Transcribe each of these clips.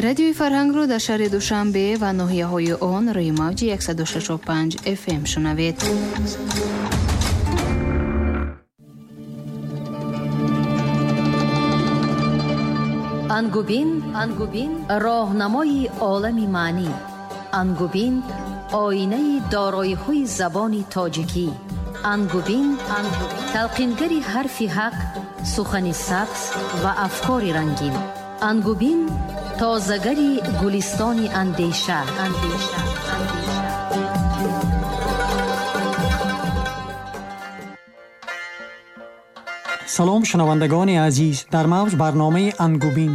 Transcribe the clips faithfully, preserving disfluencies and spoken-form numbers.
Радиои Фарҳангро дар шаҳри Душанбе ва ноҳияҳои он рӯи мавҷи яксаду шасту панҷ эф эм шунавед. Ангубин, Ангубин, роҳнамои олами маънӣ. Ангубин, оинаи дороиҳои забони тоҷикӣ. Ангубин, талқингари ҳарфи ҳақ, сухани сабз ва афкори рангин. Ангубин, тозагари гулистони андеша. Андеша, андеша. Салом шунавандагони азиз, дар мавҷ барномаи Ангубин.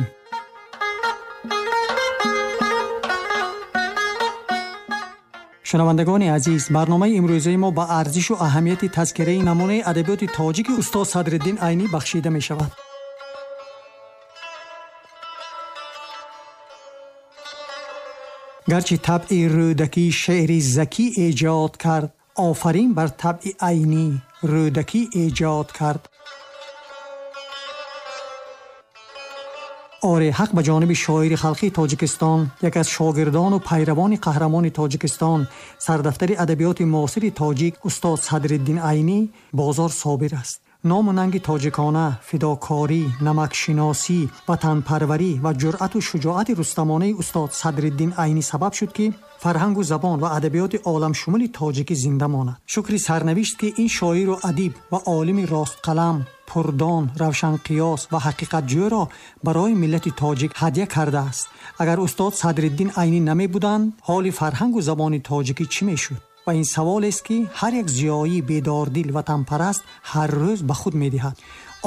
Шунавандагони азиз, барномаи имрӯзаи мо ба арзишу аҳамияти тазкираи намунаи адабиёти тоҷики устод Садриддин Айнӣ бахшида мешавад. Гарчи табъи Рӯдакӣ шеъри закӣ эҷод кард, офарин бар табъи Айнӣ Рӯдакӣ эҷод кард. Оре, ҳақ ба ҷониби шоири халқии Тоҷикистон, яке аз шогирдону пайравони қаҳрамони Тоҷикистон, сардафтари адабиёти муосири тоҷик устод Садриддин Айнӣ бозор собир аст. Ному нанги тоҷикона, фидокорӣ, намакшиносӣ, ватанпарварӣ ва ҷуръату шуҷоати рустамонаи устод Садриддин Айнӣ сабаб шуд, ки фарҳангу забон ва адабиёти оламшумули тоҷикӣ зинда монад. Шукри сарнавишт, ки ин шоиру адиб ва олими ростқалам, пурдон, равшанқиёс ва ҳақиқатҷӯро барои миллати тоҷик ҳадя кардааст. Агар устод Садриддин Айнӣ намебуданд, ҳоли фарҳангу забони тоҷикӣ чӣ мешуд? Ва ин саволест, ки ҳар як зиёии бедордил ватанпараст ҳар рӯз ба худ медиҳад.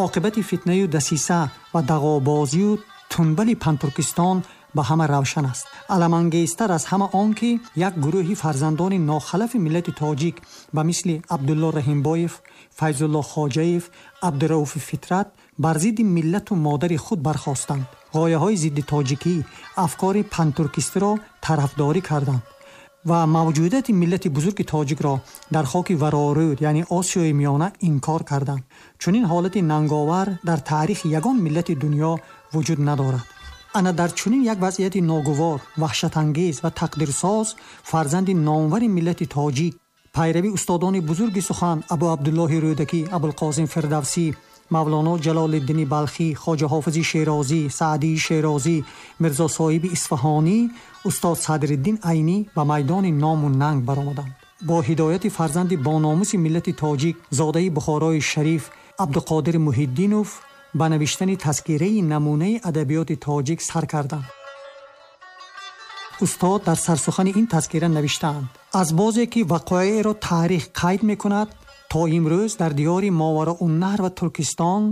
Оқибати фитнаю дасиса ва дағобозию тунбали Пантуркистон ба ҳама равшан аст. Аламангезтар аз ҳама он, ки як гурӯҳи фарзандони нохалафи миллати тоҷик ба мисли Абдулло Раҳимбоев, Файзулло Хоҷаев, Абдурауфи Фитрат бар зидди миллату модари худ бархостанд. Ғояҳои зидди тоҷикӣ, афкори пантуркистиро тарафдорӣ карданд ва мавҷудияти миллати бузурги тоҷикро дар хоки варорӯд, яъне Осиёи Миёна, инкор карданд. Чунин ҳолати нанговар дар таърихи ягон миллати дунё вуҷуд надорад. Ана дар чунин як вазъияти ногувор, ваҳшатангез ва тақдирсоз фарзанди номвари миллати тоҷик, пайрави устодони бузурги сухан Абу Абдуллоҳи Рӯдакӣ, Абулқосим Фирдавсӣ, Мавлоно Ҷалолиддини Балхӣ, Хоҷа Ҳофизи Шерозӣ, Саъдии Шерозӣ, Мирзо Соҳиби Исфаҳонӣ, устод Садриддин Айнӣ ба майдони ному нанг баромаданд. Бо ҳидояти фарзанди бономуси миллати тоҷик, зодаи Бухорои Шариф Абдуқодир Муҳиддинов ба навиштани тазкираи намунаи адабиёти тоҷик сар карданд. Устод дар сарсухани ин тазкира навиштаанд: аз бозе ки вақоеъро таърих қайд мекунад, то имрӯз дар диёри Мовароуннаҳр ва Туркистон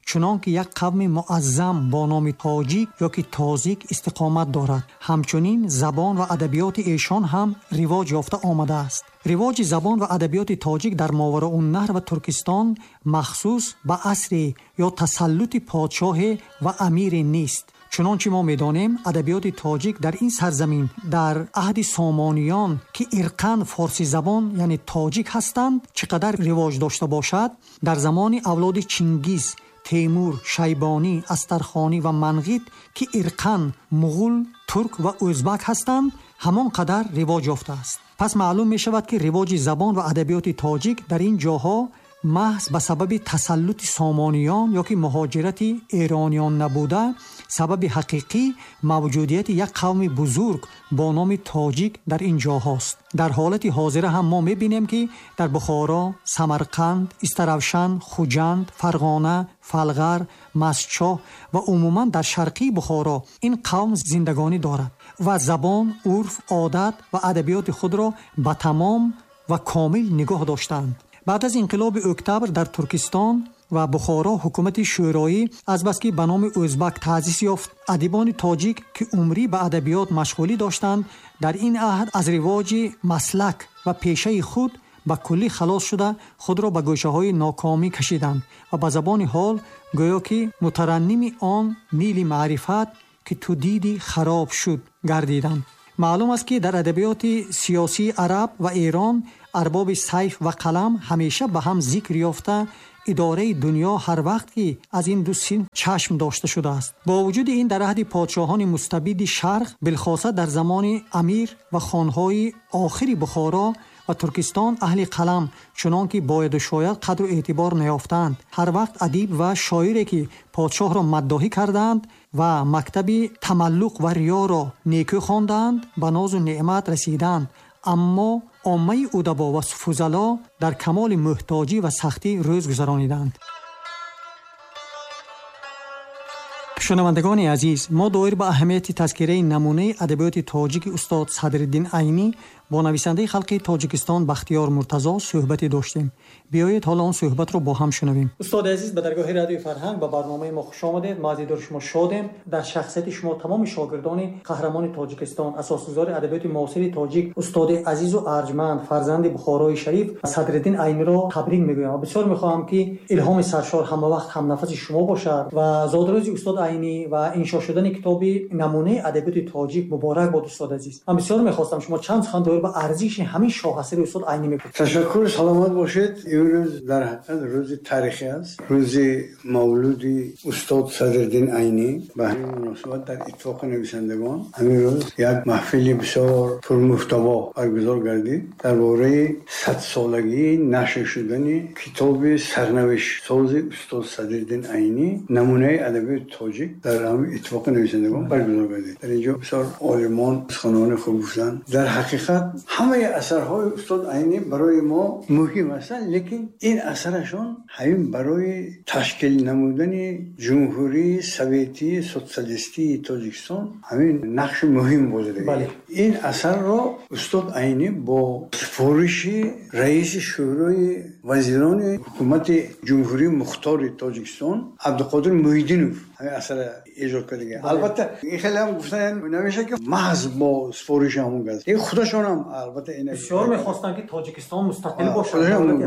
чунон ки як қавми муаззам бо номи тоҷик ё ки тозик истиқомат дорад, ҳамчунин забон ва адабиёти эшон ҳам ривоҷ ёфта омадааст. Ривоҷи забон ва адабиёти тоҷик дар Мовароуннаҳр ва Туркистон махсус ба асре ё тасаллути подшоҳе ва амире нест. Чунончи мо медонем, адабиёти тоҷик дар ин сарзамин дар аҳди сомониён, ки ирқан форсизабон яъне тоҷик ҳастанд, чӣ қадар ривоҷ дошта бошад, дар замони авлоди Чингиз, Темур, Шайбонӣ, Астархонӣ ва Манғит, ки ирқан муғул, турк ва ӯзбак ҳастанд, ҳамон қадар ривоҷ ёфтааст. Пас маълум мешавад, ки ривоҷи забон ва адабиёти тоҷик дар ин ҷоҳо маҳз ба сабаби тасаллути сомониён ё ки муҳоҷирати эрониён набуда, сабаби ҳақиқӣ мавҷудияти як қавми бузург бо номи тоҷик дар ин ҷоҳост. Дар ҳолати ҳозира ҳам мо мебинем, ки дар Бухоро, Самарқанд, Истаравшан, Хуҷанд, Фарғона, Фалғар, Масчоҳ ва умуман дар шарқии Бухоро ин қавм зиндагонӣ дорад ва забон, урф, одат ва адабиёти худро ба тамом ва комил нигоҳ доштаанд. Баъд аз инқилоби октябр дар Туркистон ва Бухоро ҳукумати шӯроӣ азбаски ба номи ӯзбак таъсис ёфт, адибони тоҷик, ки умрӣ ба адабиёт машғулӣ доштанд, дар ин аҳд аз ривоҷи маслак ва пешаи худ ба куллӣ халос шуда, худро ба гӯшаҳои нокомӣ кашиданд ва ба забони ҳол гӯё ки мутаранними он нили маърифат, ки ту дидӣ хароб шуд, гардиданд. Маълум аст, ки дар адабиёти сиёсии араб ва эрон арбоби сайф ва қалам ҳамеша ба ҳам зикр ёфта, Идораи дунё ҳар вақт ки аз ин ду синф чашм дошта шудааст. Бо вуҷуди ин дар аҳди подшоҳони мустабиди шарқ, билхоса дар замони амир ва хонҳои охири Бухоро ва Туркистон, аҳли қалам чунон ки бояду шояд қадру эътибор наёфтанд. Ҳар вақт адиб ва шоире ки подшоҳро маддоҳӣ карданд ва мактаби тамаллуқ ва риёро некӯ хонданд, ба нозу неъмат расиданд. Аммо оммаи удабо ва фузало дар камоли муҳтоҷӣ ва сахтӣ рӯз гузарониданд. Шунавандагони азиз, мо доир ба аҳамияти тазкираи намунаи адабиёти тоҷики устод Садриддин Айнӣ бо нависандаи халқи Тоҷикистон Бахтиёр Муртазо суҳбате доштем. Биёед ҳоло он суҳбатро бо ҳам шунавем. Устоди азиз, ба даргоҳи радиои фарҳанг ба барномаи мо хуш омадед. Мо аз дидори шумо шодем. Дар шахсияти шумо тамоми шогирдони қаҳрамони Тоҷикистон, асосгузори адабиёти муосири тоҷик, устоди азизу арҷманд, фарзанди Бухорои шариф Садриддин Айниро табрик мегӯям ва бисёр мехоҳам ки илҳоми саршор ҳамавақт ҳамнафаси шумо бошад ва зодрӯзи устод Айнӣ ва иншо шудани китоби намунаи адабиёти тоҷик муборак бод, устод азиз. Ман бисёр мехостам шумо чанд сухан доир ба арзиши ҳамин шоҳасари устод Айнӣ мегуфтед. Ташаккур, саломат бошед. Имрӯз дар ҳақиқат рӯзи таърихӣ аст, рӯзи мавлуди устод Садриддин Айнӣ. Ба ҳамин муносибат дар иттифоқи нависандагон ҳамин рӯз як маҳфили бисёр пурмуҳтаво баргузор гардид дар бораи садсолагии нашр шудани китоби сарнавиштсози устод Садриддин Айнӣ, намунаи адабиёти тоҷик, дар ҳамин иттифоқи нависандагон баргузор гардид. Дар инҷо бисёр олимон суханони хуб гуфтанд. Дар ҳақиқат ҳамаи асарҳои устод Айнӣ барои мо муҳим ҳастанд, лекин ин асарашон ҳамин барои ташкил намудани Ҷумҳурии Советии Социалистии Тоҷикистон ҳамин нақши муҳим бозида. Ин асарро устод Айнӣ бо супориши раиси Шӯрои вазирони ҳукумати Ҷумҳурии Мухтори Тоҷикистон Абдуқодир Муҳиддинов ҳамин асарро эҷод кардага. Албатта ин хеле ҳам гуфтан намешавад ки маҳз бо супориши ҳамон кас, ин худашон ҳам албатта ин бисёр мехостанд ки Тоҷикистон мустақил бошад,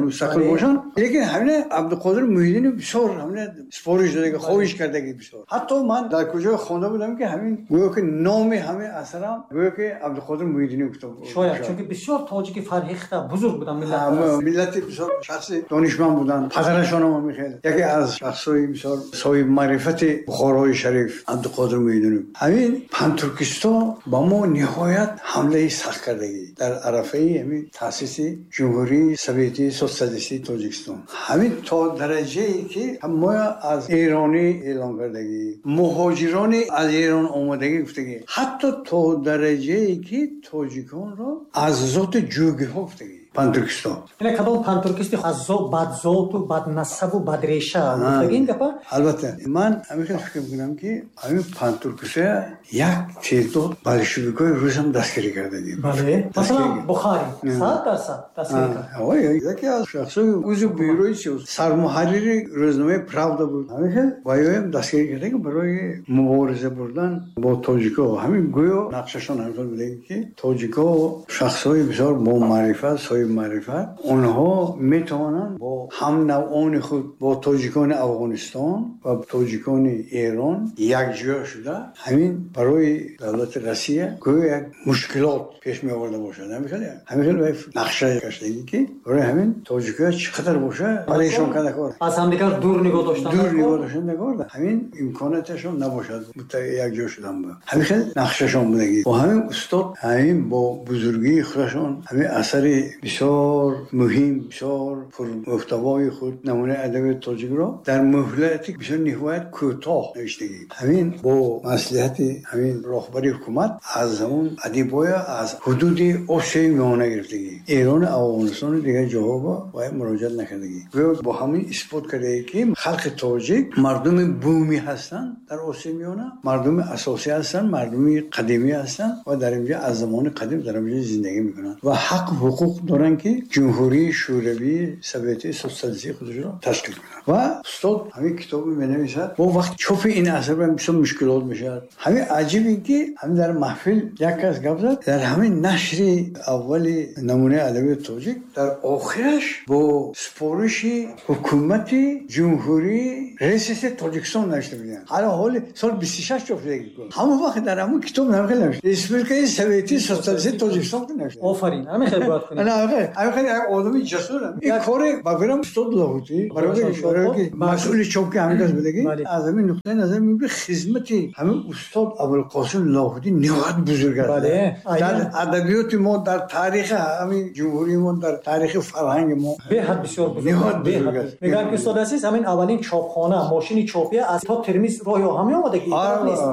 мустақил бошанд, лекин ҳамин Абдуқодир Муҳиддинов бисёр ҳамин супориш додага, хоҳиш кардаги бисёр. Ҳатто ман дар куҷо хонда будам ки ҳамин гӯё ки номи ҳамин асарам гӯё ки Абдуқодир Муҳиддинов китоб, шояд чунки бисёр тоҷики фарҳихта бузург буданд, миллат миллати бисёр шахси донишманд буданд. Падарашон ҳам хеле яке аз шахсҳои бисёр соҳиби маърифати Бухорои шариф Абдуқодир Муҳиддинов. Ҳамин пантуркистон ба мо ниҳоят ҳамлаи сахт кардагӣ дар арафаи ҳамин таъсиси Ҷумҳурии Советии Социалистии Тоҷикистон. Ҳамин то дараҷае ки мо аз эронӣ эълон кардагӣ, муҳоҷирони аз Эрон омадагӣ гуфтагӣ, ҳатто то дараҷае ки тоҷиконро аз зоти ҷӯгиҳо гуфтагӣ. Пантуркистон. Ина кадом пантуркисти аз бадзоту баднасабу бадреша гуфтагӣ ин гапа? Албатта, ман ҳамин хел фикр мекунам ки ҳамин пантуркистия як теъдод болшевикои рус ҳам дастгирӣ кардагӣ. Бале. Масалан, Бухарӣ сад дарсад дастгирӣ кард. Яке аз шахсои узви бюрои сиёсӣ, сармуҳаррири рӯзномаи Правда буд. Ҳамин хел ваёям дастгирӣ кардагӣ барои мубориза бурдан бо тоҷико. Ҳамин гӯё нақшашон ҳамин хел будагӣ ки тоҷико шахсҳои бисёр бомаърифат, соҳиби маърифат, онҳо метавонанд бо ҳамнавъони худ, бо тоҷикони Афғонистон ва тоҷикони Эрон якҷоя шуда ҳамин барои давлати Россия гӯё як мушкилот пеш меоварда бошад. Ҳамин хел ҳамин хел нақша кашидагӣ ки барои ҳамин тоҷикоя чӣ қадар боша парешон карда кор, аз ҳамдигар дур нигоҳ доштан, дур нигоҳ доштан кор, ҳамин имконияташон набошад якҷо шудан. Ҳамин хел нақшашон будагӣ. Бо ҳамин устод ҳамин бо бузургии худашон ҳамин асари бисёр муҳим, бисёр пурмуҳтавои худ намунаи адабиёти тоҷикро дар муҳлати бисёр ниҳоят кӯтоҳ навиштагӣ. Ҳамин бо маслиҳати ҳамин роҳбари ҳукумат аз ҳамон адибоя аз ҳудуди Осиёи Миёна гирифтагӣ, Эрон, Афғонистону дигар ҷоҳо бояд муроҷиат накардагӣ. Гӯё бо ҳамин исбот кардагӣ ки халқи тоҷик мардуми бумӣ ҳастанд дар Осиёи Миёна, мардуми асосӣ ҳастанд, мардуми қадимӣ ҳастанд ва дар инҷо аз замони қадим дар инҷо зиндагӣ мекунанд ва ҳақ ҳуқуқ доранд ки Ҷумҳурии Шӯравии Советии Социалистии худашро ташкил кунанд. Ва устод ҳамин китобро менависад. Бо вақт чопи ин асар бисёр мушкилот мешавад. Ҳамин аҷиб ин ки ҳамин дар маҳфил як кас гап зад, дар ҳамин нашри аввали намунаи адабиёти тоҷик дар охираш бо супориши ҳукумати Ҷумҳурии РСС Тоҷикистон навишта буданд. Ҳало ҳоли соли бисту шаш чоп шудагӣ. Ҳамон вақт дар ҳамон китоб намхел навишта Республикаи Советии Социалистии Тоҷикистон навишта. Офарин, ҳамин хел бояд кунем. Ҳамин як одами ҷасурам. Ин кори ба фикрам устод Лоҳутӣ барои ки масъули чопки ҳамин кас будагӣ, аз ҳамин нуқтаи назар мегӯям хизмати ҳамин устод Абулқосим Лоҳутӣ ниҳоят бузург аст. Дар адабиёти мо, дар таърихи ҳамин ҷумҳурии мо, дар таърихи фарҳанги мо беҳад бисёр бузург, ниҳоят бузург аст. Мегӯянд ки устод азиз, ҳамин аввалин чопхона, мошини чопия аз то Термиз роҳи оҳан меомада ки ин нест.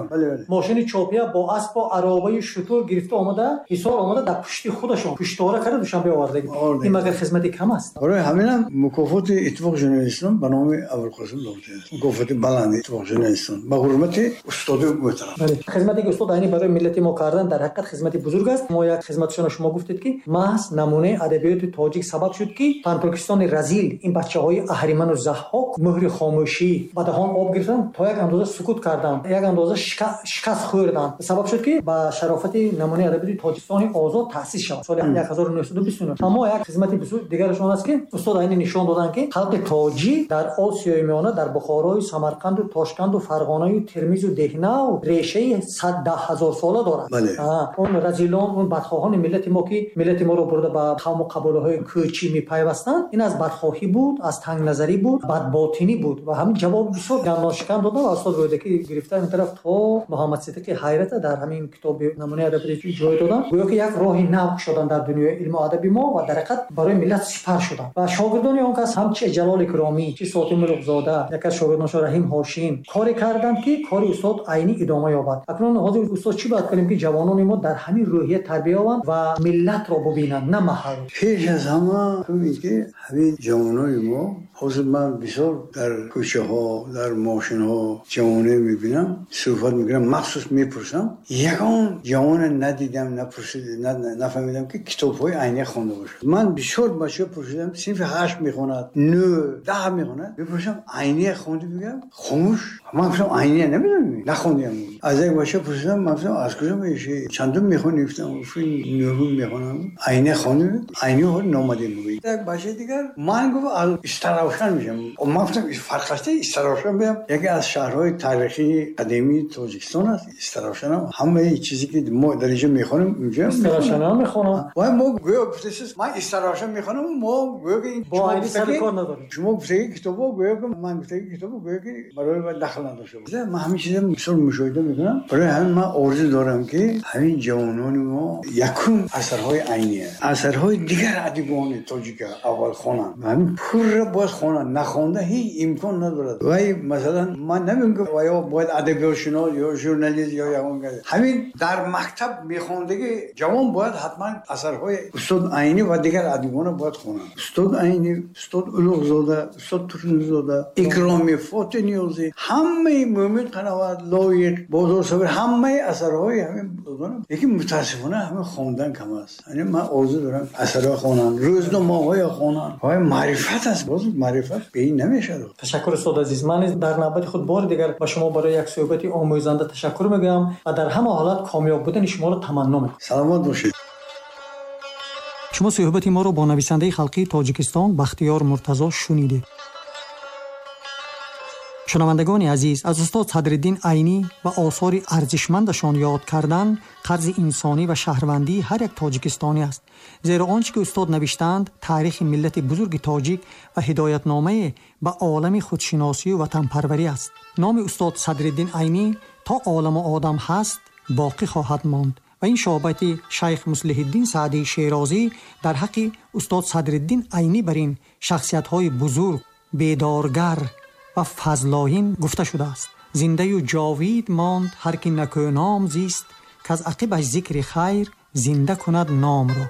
Мошини чопия бо асп ва аробаи шутур гирифта омада, Ҳисор омада, дар пушти худашон пуштора карда Душанбе овардагӣ. Ин магар хизмати кам аст? Барои ҳаминам мукофоти Иттифоқи журналистон ба номи Абулқосим Лоҳутӣ аст. Мукофоти баланди Иттифоқи журналистон ба ҳурмати устоди муҳтарам. Бале, хизмате ки устод Айнӣ барои миллати мо кардан дар ҳақиқат хизмати бузург аст. Мо як хизматшонро шумо гуфтед ки маҳз намунаи адабиёти тоҷик сабаб шуд ки пантуркистони разил, ин бачаҳои аҳриману заҳҳок муҳри хомӯшӣ ба даҳон об гирифтанд, то як андоза сукут карданд, як андоза шикаст хӯрданд. Сабаб шуд ки ба шарофати намунаи адабиёти Тоҷикистони озод таъсис шавад соли ҳазору нӯҳсаду бисту нӯҳ. Аммо як хизмати бузург дигарашон аст ки устод Айнӣ нишон доданд ки халқи тоҷик дар Осиёи Миёна, дар Бухорою Самарқанду Тошканду Фарғонаю Термизу Деҳнав решаи сад даҳ ҳазор сола дорад. Он разилон, он бадхоҳони миллати мо ки миллати моро бурда ба қавму қабилаҳои кӯчӣ мепайвастанд, ин аз бадхоҳӣ буд, аз тангназарӣ буд, бадботинӣ буд ва ҳамин ҷавоби бисёр гандоншикан доданд ва устод Рӯдакӣ гирифта ин тараф то Муҳаммад Сиддиқи Ҳайрата дар ҳамин китоби намунаи адабиёти ҷой доданд. Гӯё ки як роҳи нав шуданд дар дунёи илму адаби мо ва дар ҳақиқат барои миллат сипар шуданд. Ва шогирдони он кас ҳам чи Ҷалол Икромӣ, чи Сотим Улуғзода, яке аз шогирдонашон Раҳим Ҳошим коре карданд ки кори устод Айнӣ идома ёбад. Акнун ҳозир устод чӣ бояд кунем ки ҷавонони мо дар ҳамин рӯҳия тарбия ёбанд ва миллатро бубинанд, на маҳал? Пеш аз ҳама ҳамин ки ҳамин ҷавонони мо ҳозир ман бисёр дар кӯчаҳо, дар мошинҳо ҷавоне мебинам, суҳбат мекунам, махсус мепурсам. Ягон ҷавоне надидам, напурсид, нафаҳмидам ки китобҳои Айнӣ хонда бошад. Ман бисёр бачаҳо пурсидам, синфи ҳашт мехонад, нӯ, даҳ мехонад, мепурсам Айнӣ хонди, мегӯям хомӯш. Ман гуфтам Айнӣ намедонам, нахондиам. Аз як бача пурсидам, ман гуфтам аз куҷо мешӣ, чандум мехонӣ? Гуфтам нӯҳум мехонам. Айнӣ хонди? Айнӣ номадем мегӯяд. Як бачаи дигар ман гуфт аз Истаравшан мешам. Ман гуфтам фарқ аст, Истаравшан биям яке аз шаҳрҳои таърихии қадимии Тоҷикистон аст. Истаравшан ҳам ҳамаи чизе ки мо дар инҷо мехонем, инҷо Истаравшан ҳам мехонам. Ва мо гӯё гуфтед ман Истаравшан мехонам, мо гӯё ки бо Айнӣ сари кор надорем. Шумо гуфтаги китобҳо гӯё ки ман гуфтаги китобҳо гӯё ки барои ман дахл надошта бошад. Ман ҳамин чизро бисёр мушоҳида мекунам. Барои ҳамин ман орзу дорам ки ҳамин ҷавонони мо якум асарҳои Айнӣ, асарҳои дигар адибони тоҷика аввал хонанд. Ҳамин пурра бояд хонанд, нахонда ҳеҷ имкон надорад. Вай масалан ман намегӯям ки ё бояд адабиётшинос ё журналист ё ягон кас. Ҳамин дар мактаб мехондагӣ ҷавон бояд ҳатман асарҳои устод Айнӣ ва дигар адибонро бояд хонанд. Устод Айнӣ, устод Улуғзода, устод Турсунзода, Икромӣ, Фотиҳ Ниёзӣ, ҳамаи Мӯмин Қановат, Лоиқ, Бозор Собир, ҳамаи асарҳои ҳамин бузургон. Лекин мутаассифона ҳамин хондан кам аст. Яъне ман орзу дорам асарҳо хонанд, рӯзномаҳоя хонанд. Ҳай маърифат аст, боз маърифат бе ин намешавад. Ташаккур устод азиз. Ман низ дар навбати худ бори дигар ба шумо барои як суҳбати омӯзанда ташаккур мегӯям ва дар ҳама ҳолат комёб будани шуморо таманно мекунам. Саломат бошед. Шумо суҳбати моро бо нависандаи халқии Тоҷикистон Бахтиёр Муртазо шунидед. Шунавандагони азиз, аз устод Садриддин Айнӣ ва осори арзишмандашон ёд кардан қарзи инсонӣ ва шаҳрвандии ҳар як тоҷикистонӣ аст. Зеро он чӣ ки устод навиштаанд таърихи миллати бузурги тоҷик ва ҳидоятномае ба олами худшиносию ватанпарварӣ аст. Номи устод Садриддин Айнӣ то оламу одам ҳаст боқӣ хоҳад монд ва ин шоҳбати шайх Муслиҳиддин Саъдии Шерозӣ дар ҳаққи устод Садриддин Айнӣ бар ин шахсиятҳои бузург, бедоргар ва фазлоин гуфта шудааст. Зиндаю ҷовид монд ҳар ки накӯном зист, каз ақибаш зикри хайр зинда кунад номро.